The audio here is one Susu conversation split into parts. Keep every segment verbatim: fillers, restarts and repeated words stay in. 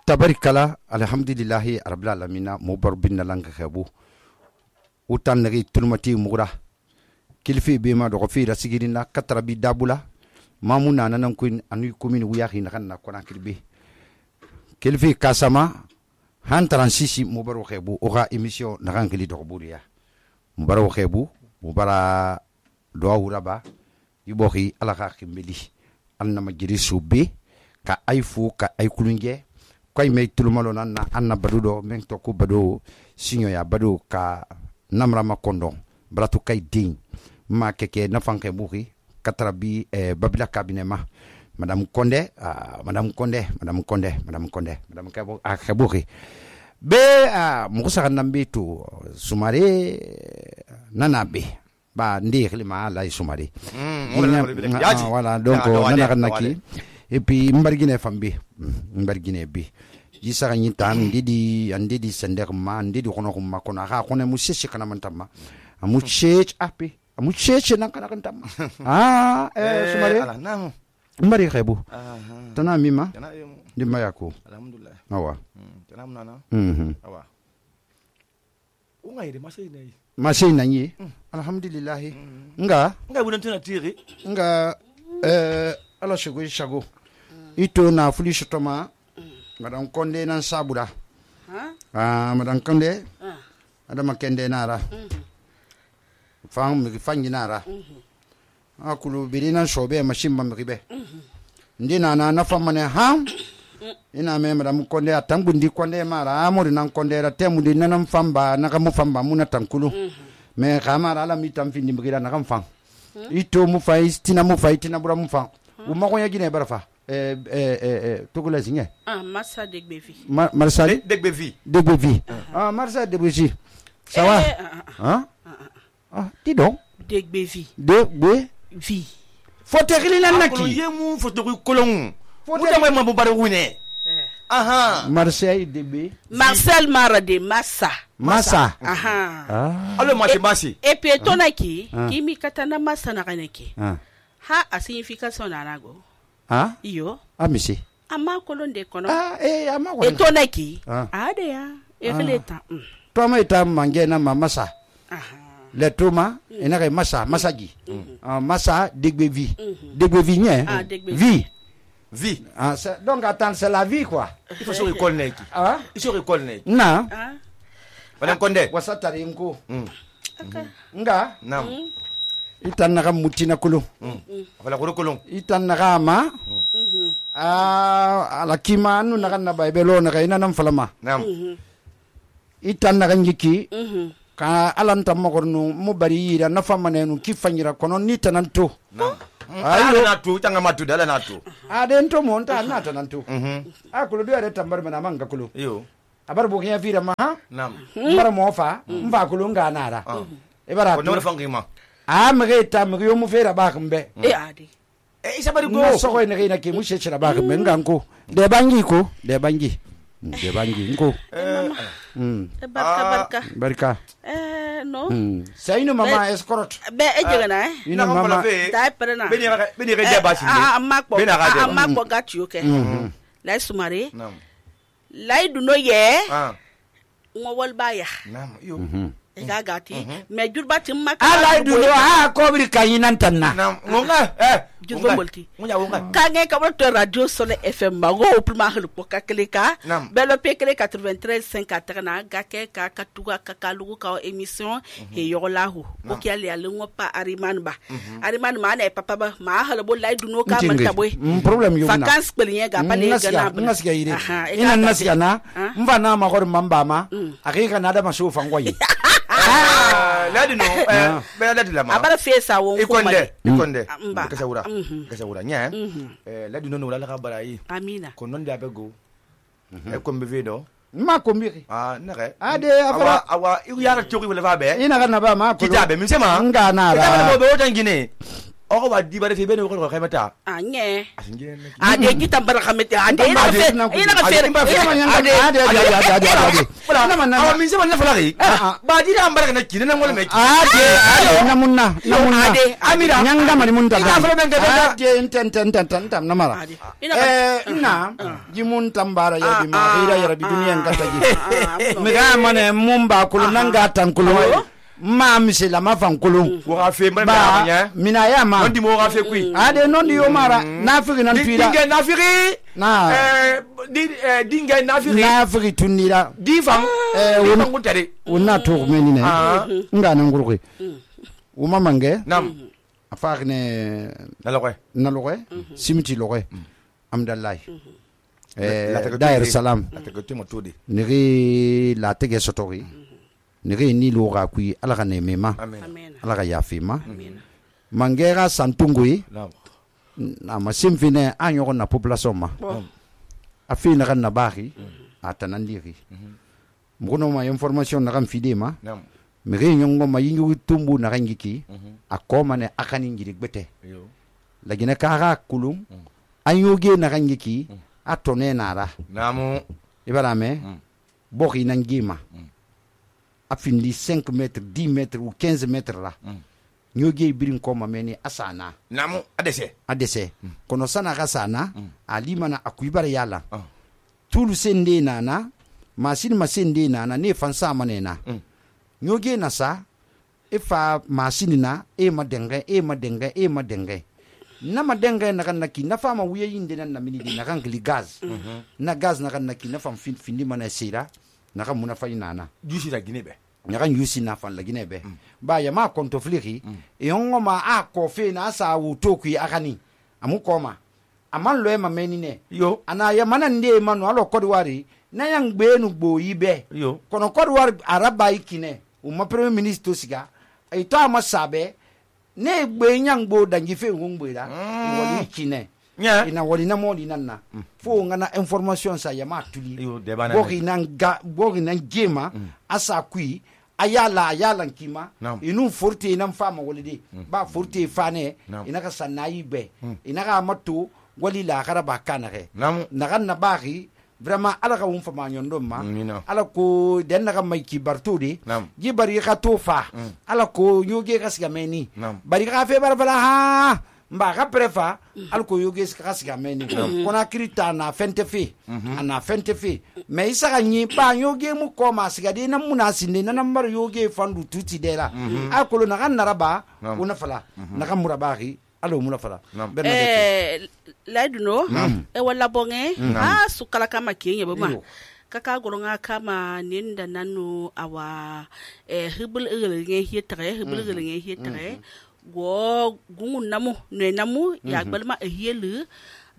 tabarikala alhamdulillahi rabbil alamin mo barbin lang khabu utan nagi tulmati mugura kilfi be ma do fi rasigirina katrabi dabula mamuna nanan kuin anu kumin wiyahi nakan na kona kirbe kilfi kasama han transisi mo baro khabu oga emission nakan kili do buriya mo baro khabu mo bara do wuraba yubohi alaka kimbeli anna majiri subbe ka aifu ka ay kulunge koy me tulumalo nan na anna badudo men to ko bado sinyo ya bado ka namra ma kondon bratu kay ding ma keke na fanke buhi katrabi eh, babila cabinet ma madame Konde uh, madame Konde madame Konde madame Konde madame Kabo a khabuhi be a uh, musa nambe to sumare nanabe ba ndi khilima la sumare mm, voilà donc nana kanaki et puis mbargine fambi mbargine bi jisara nyita ndidi andidi sender ma ndidi kono ko makona ha kono mu sese kana mantama amu chech api amu chech nan kana kantama ah eh sumare ala nam mbari khebu tana mima ndi mayako alhamdulillah awa tana munana mhm awa ungaire masai nei masai nanyi alhamdulillah nga nga bunan tuna tiri nga eh ala shago shago ito na fuli shotoma madam Konde nan sabura ha ah madam Konde ah adama kende nara fam mi fangi nara akulu birina shobe machine bam ribe ndina na na famane ha ina me madam Konde atangundi Konde mara amuri nan Konde ra temundi nanam famba na kamu famba muna tankulu me kamara ala mitam findi mgira na kam fam ito mu fay tina mu fay tina bura mu fam u ma ko yagine barafa eh eh eh togula sinye ah Marsa Degbevi Ma, Marsa Degbevi Degbevi ah Marsa Degbevi ça va hein ah dis donc Degbevi Degbevi fote khilina naki yemu foto kolon foto ma ma bare wune aha Marseille Degbe Marcel Marade Massa Massa aha ah allo ma basi et puis tonaki kimi katana Massa na kaneki ah ha a signification na nago ah iyo amisi ama kolonde kono ah eh ama ko etonaki ade ya ekleta to ma ita mange na Massa aha le toma ina ke Massa Massaji ah Massa Degbevi Degbevi nye ah Degbevi vie vie ah donc attends c'est la vie quoi il faut se reconnaître ah il faut reconnaître na ah madame Konde wasatari nko okay nga nam itan na mutina kulu wala ko kolon itan na ma ah ala kimanu na kan na baibelo na kay nanam falama nam itan na njiki ka alanta mogornu mo bari yira na famanenu kifanyira kono ni tananto nam ayo na tu tanga matu dala na tu ade nto monta na tananto akulu do ade tambar mana manga kulu yo abar bo kiya fira ma nam mbara mofa mba kulu nga nara e bara ko no fangi ma a mege ta mege yo mu fera ba kambe e ade e isa bari ko go so ko ne ke na ke mu shechira ba kambe nganko de bangi ko de bangi de bangi nko mm barka barka barka eh no sai no mama escort be e jega na eh ina mama dai perna beni beni re jabasi ah amma ko amma ko gati okay la sumare nam la iduno ye ah ngowol baya nam yo e ga gati me jurbati makka ala iduno ha ko bir kayinan tanna nam ngonga eh jurbo molti munya wonga kange ka to radio sole fm mago pluma helu poka klika belo pekele quatre-vingt-treize cinquante na gake ka katuga ka kalugu ka émission he yolahu o ki ali ali ngopa ariman ba ariman ma na papa ba ma halo bo lay duno ka man taboy problem yo na vacances pelinye ga pale gana nasiya ire ina nasiya na mva na ma gor mamba ma akika na da masu fangoyi ah ladi no eh be ladi la ma abara fesa won ko ikonde ikonde kasa wura kasa wura nya eh ladi no no la ka barai amina ko non da be go e ko mbe vedo ma ko mbi ah nare ade afara awa iu yara toki wala ba be ina kana ba ma ko kitabe mi sema nga na ra kitabe mo be o tangine o wa di bare fe be no ko khaymata anye ade kita bar khamete ade ina fe ina fe ade ade ade ade na man na min se man na falari ba di da ambar na kina na ngol me ade ade namunna namunna ade amira nyanga mari mun ta ina fa ben ga ade inten ten ten ten tam namara eh ina jimun tambara ya bi ma ira ya rabbi duniyan kata ji mi ga mane mun ba kulu nan ga tan kulu ma misela ma fan kulu wo ga fe ma ba mina ya ma ndi mo ga fe kui ade non di yo mara na figi nan tuila dinga na figi na eh di dinga na figi na figi tunira di fam eh wona ngutare wona to meni ne nga nan gurugui o mamange nam afagne na lokwe na lokwe simiti lokwe amdallah eh Dar es Salaam la te ko to de niri la tege sotori niri ni lo ga kui ala ga ne mema amen ala ga yafima mangera santungui na masim fine anyo na population ma afina kan na bari atanandiri mgono ma information na kan fidema miri nyongo ma yingu tumbu na rangiki akoma ne akani ngiri gbete lagina kara kulum anyoge na rangiki atone nara namu ibarame boki nangima afindi cinq mètres dix mètres ou quinze mètres là nyoge birin koma meni asana namu adese adese kono sana gasana alimana akuibara yala tulu sende nana masin masende nana ne fansa manena nyoge nasa ifa masini na e madenge e madenge e madenge na madenge na kan naki na fama wuya yinde nan na minidi na kan gli gaz na gaz na kan naki na fam fin findi mana sira na kan muna fayi nana jusi la ginebe na kan yusi na fan la ginebe ba ya ma konto fliki e ongo ma a ko fe na sa wu toku akani amu koma aman lo e ma menine yo ana ya mana nde manu alo kodwari na yang gbenu gbo yibe yo kono kodwari araba ikine o ma premier ministre siga e to ama sabe ne gbe nyangbo dangi fe ngongbe da wali kine ina wali na modi nanna fo ngana information sa ya ma tuli bogi nan ga bogi nan gema asa kui ayala ayala kima inu forte nan fama wali de ba forte fane ina ka sanayi be ina ka matu wali la karaba kana ke na kan na bagi vraiment ala ka won fama nyondo ma ala ko den na ka mai ki bartudi ji bari ka tofa ala ko nyoge ka siga meni bari ka fe bar bala ha mba ka prefa ala ko yoge ka siga meni kona krita na fente fe ana fente fe me isa ka nyi ba yoge mu ko ma siga de na muna sinde na nambar yoge fandu tuti de la akolo na kan naraba una fala na kan murabaki alo muna fala eh laiduno e wala bonge ha sukala kama kiyenye bama kaka goronga kama ninda nanu awa eh hibul igelenge hietare hibul igelenge hietare go gungun namu ne namu ya gbalma ehiyelu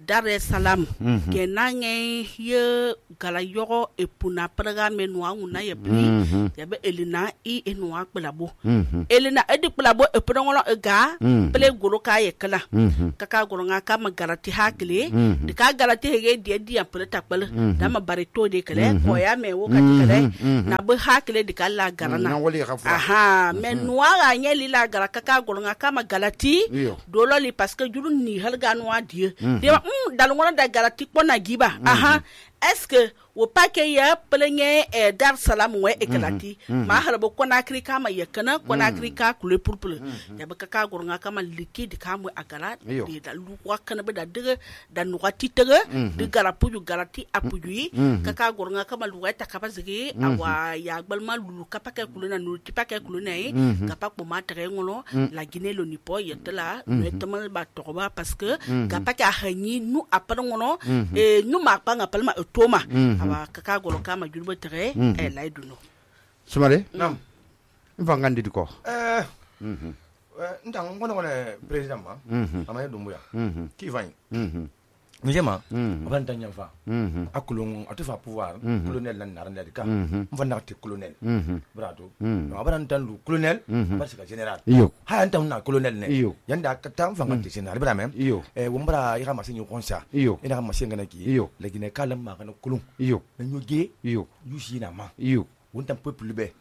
Dar es Salaam kenange ye gala yoro epuna programme no una ye pli ya be elina i enwa kplabo elina edi kplabo epuna ngolo ega ple goro ka ye kala kaka goro nga kama garati hakle de ka garati hege die die ple takpele dama barito de kale ko ya me wo ka kale na be hakle de kala garana aha me noa ga nyeli la gara kaka goro nga kama galati dolo li parce que juru ni halga no adie de dalungona da garati pona giba aha est-ce que wo pake ya pelenye e Dar Salaam we ekalati ma harabo kona krika ma yakana kona krika kule purpul ya baka ka gornga kama liquide kamu agara de da lu wakana be da de da nuati tege de garapu ju garati apuyi kaka gornga kama lu wata kapazigi awa ya gbalma lu kapake kuluna nu tipake kuluna yi kapako ma tere ngolo la Guinée lo nipo yetela notamment ba toba parce que kapake a hanyi nu apara ngono e nu ma panga palma toma awa kaka golo kama julbo tere e laiduno sumare nam mvangandi diko eh mhm ndang ngono ngono president ma amay dumbuya ki vany mhm njema aban tanya fa akulung atufa pouvoir colonel nan narande ka mva nakti colonel brato aban tandu colonel parce que général ha antam na colonel ne yanda katam fa ngati général bra même e wombra ira ma sinyo konsa ina ma singa na ki legine kalam ma kana kulung nanyo ge yusi na ma wontam peuple be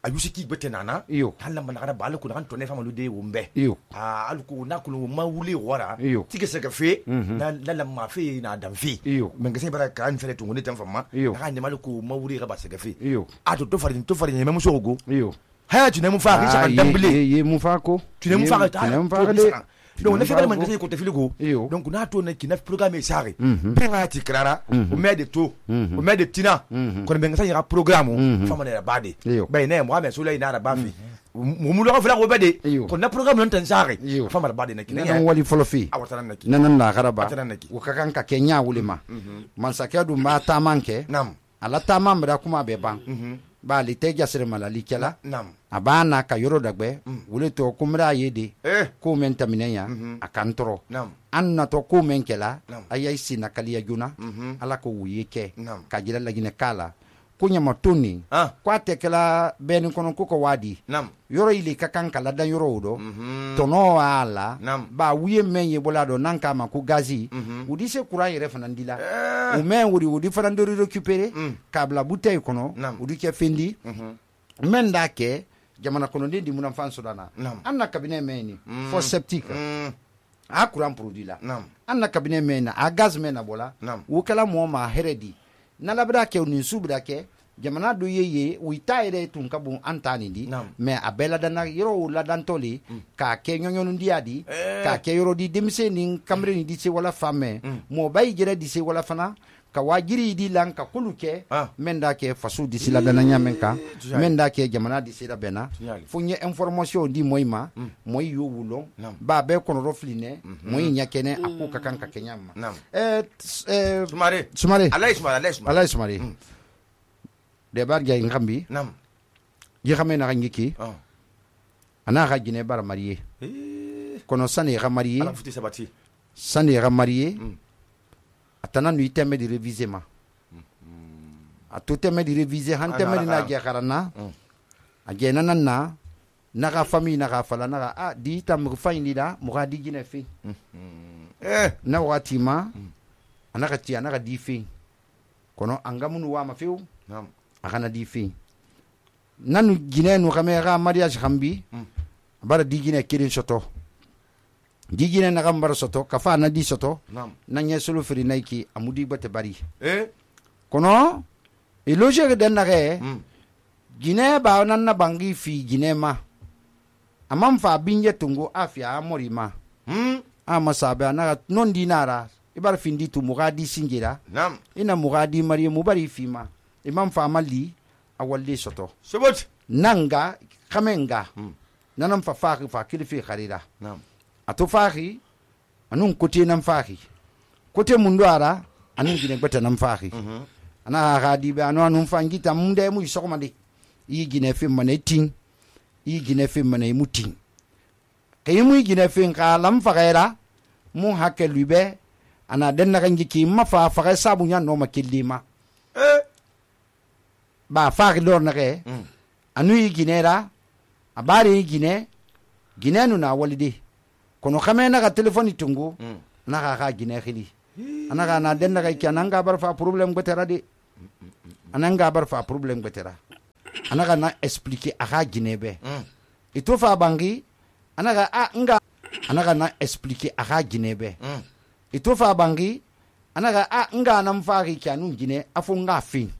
ayusi ki gbete nana iyo hala managara ba alku nan tonne famalu de wumbe iyo ah alku na kulu ma wuli wara iyo tike sega fe na la ma fe na dan fe iyo menga se bara kan fele tungu ne tan fama na ni maluku ma wuli ba sega fe iyo ato to farin to farin me muso go iyo ha tu ne mu fa ki sa dambele ye mu fa ko tu ne mu fa tu ne mu fa de donc ne fere man gase ko te filigo donc na to ne ki na programme sare penga ti krara o me de to o me de tina ko ne ngasa ya programme fama ne ba de bay ne mo ame so lay na ba fi mo mu lo fa ko be de ko na programme non tan sare fama ba de ne ki ne wali folo fi awatana ne ki nanan la garaba o ka kan ka kenya wulima man sakadu ma ta manke nam ala ta mamra kuma be ban ba li te jasire malali kela nam abana ka yoro dagbe wule to kumra yede eh ko men taminenya akantoro nam anna to ko men kela ayai sina kaliya juna ala ko wuyeke ka jira lagine kala kunya matuni ah kwa tekela ben kono ko ko wadi nam yoro ile ka kan kala dan yoro do to no ala ba wuye menye bolado nanka ma ku gazi udi se kura yere fanandila o men wuri udi fanandori récupérer kabla bouteille kono udi ke fendi men da ke jamana kono ndi muna fanso dana anna cabinet meni for septique a kuran produit la anna cabinet mena a gaz mena bola wo kala mo ma heredi na labra ke unin subra ke jamana do yeye wita ire tun kabu antani di me abela dana yoro la dantoli ka ke nyonyon ndiadi ka ke yoro di demise nin kamre ni dise wala femme mo bay jere dise wala fana ka wajiri di lan ka kuluke menda ke fasu disi la dana nyamen ka menda ke jamana disi la bena funye information di moyma moy yo wulon ba be kono rofline moy nyakene akuka kanka kenyama eh eh sumare sumare alay sumare alay sumare alay sumare de bar gay ngambi nam yi xamé na ngiki ana ga gine bar marié kono sane ga marié ala futi sabati sane ga marié atana nu iteme di réviser ma a to teme di réviser han teme di na ge kharana a ge nanana na ga famille na ga fala na ga a di tam fa indi da mo ga di gine fi eh na wati ma ana ga ti ana ga di fi kono angamunu wa ma fiu nam akana di fi nanu gine nu xame ga mariage xambi bara di gine kirin soto di gine na gambar soto kafa na di soto na nye solo feri naiki amudi bate bari eh kono e logique den na ge gine ba nan na bangi fi gine ma amam fa binje tungo afia amori ma hmm ama sabe na non dinara ibar findi tu mugadi singira nam ina mugadi mari mubari fi ma imam fa mali awalde soto sobot nanga kamenga nanam fa fa fa kilifi kharira nam ato fahi anun kote nan fahi kote mundu ara anun gine gbata nan fahi ana ga di be anu anun fangita munde mu isokoma de yi gine fe mane tin yi gine fe mane mutin kay mu gine fe ka lam fagaira mu hakke lube ana den na gangi ki ma fa fa sabu nya no makillima eh ba fahi lor na ke anu yi gine ra abari yi gine gine nu na walide kono xame na ga telephone tungu na ga ga gine khili anaga na den daga kyananga bar fa problem betera de ananga bar fa problem betera anaga na expliquer aga gine be ito fa bangi anaga a nga anaga na expliquer aga gine be ito fa bangi anaga a nga na mfa ri kyanu gine afu nga fin